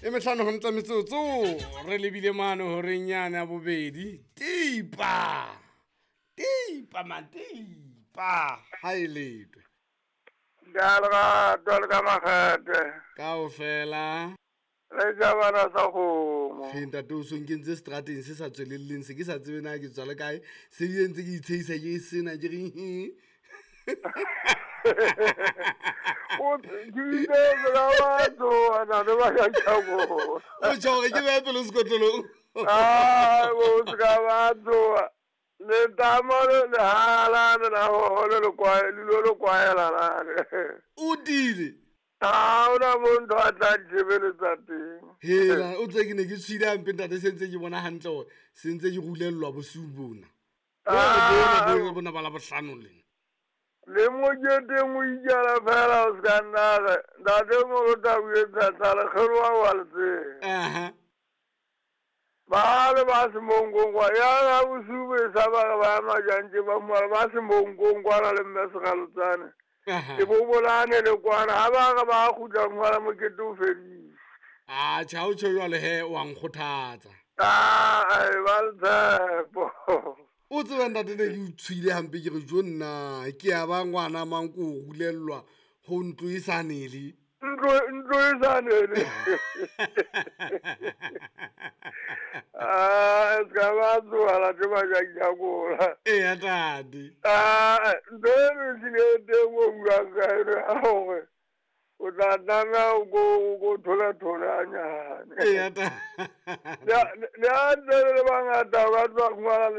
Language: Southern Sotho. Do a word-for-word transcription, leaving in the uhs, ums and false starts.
E metlhano go ntla metsotso re lebile mane horeng yane ya bobedi. Tipa tipa man tipa ha e letwe. Ka lerato le ka makgethe. Kaofela. Le jabana sa kgomo. He ntate o so nkentse strateng se sa tswelelleng, se ke sa tsebe na ke tswa le kae, se bile ntse ke itshehisa ke sena ke re he. O ke itse ka batho ana le ba ya tjabo. O tjho hore ke behe pelo sekotlolong. Ah, o se ka batho. Le tamo le le hala le la ho le le kwa le lo kwaela la. O dile. Ah, ona mo ntho a tla ntšhebeletsa teng. Hela, o tse ke ne ke tshwile hampe ntate, se ntse ke bona hantle hore se ntse ke rulellwa bosiu bona. Ah, Bona bona ba la bohlano lena. Le moketeng o ikela fela o se ka nna re ntate moruta o etsa tlala kgeloa wa le tsela. Aha. Ba le ba semonkongwa ya ga bosiu bo e sa ba re ba majantse ba moala ba semonkongwana le mme Segalotsane. Aha. E bo bolane le kwana ha ba re ba kgutla moala mokete o fedile. Ah, tjha o tjho jwale he o a nkgothatsa. Ah, ai, ba le tshepo. O tseba ntate ne ke o tshwile hampe ke re jo nna ke a ba ngwana mang ko o rulellwa ho ntlo e sa nele. Ntlo ntlo e sa nele. Ah, se ka ba tsoha te ba ja jakola. Eya ntate. Ah, ntho e re tlile teng o buang ka yona ya hore o tla tlameha o ko o ko thola thola hanyane. Eya ntate. Le ha le ha ntse le le bangata ba tloha ngwala.